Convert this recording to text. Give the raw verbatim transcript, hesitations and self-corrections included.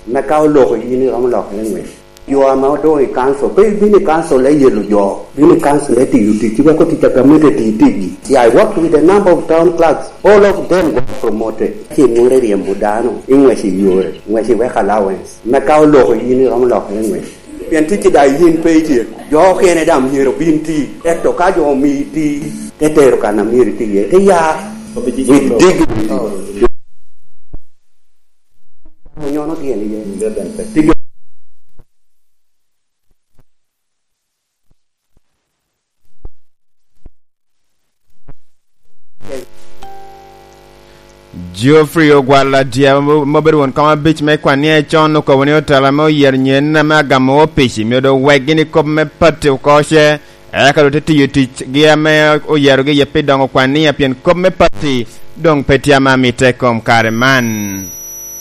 Me ka oloko yin, iromo lokere ngwec. Jo ame odoŋ i kancil, pe ibino i kancil me yelo jo, bino i kancil me tiyo ticci, wek otic a gamente ti ticgi. Yeah, I worked with a number of town clerks, all of them got promoted. Ci nwore ryemo dano i ngwec i yore, ngwec i work allowance. Me ka oloko yin, iromo lokere ngwec. Pien ticci daŋ yin pe ityeko. Jo okene daŋ myero obin ti, ento ka jo omii ti, te tero kan a myero iti iye, te ya with dignity. Onyono tyen iye. Ticci Geoffrey Ogwal Adyaba, mo-, ma obedo won kom abic me kwanni acon, okobo ni otelo ame oyero nyen ame agamo opic myero doŋ wek gin i kop me pati oko ce, eka doŋ te tiyo ticgi ame oyerogi iye pi doŋo kwannia, pien kop me pati doŋ pe tye ame amitte i kom kare man.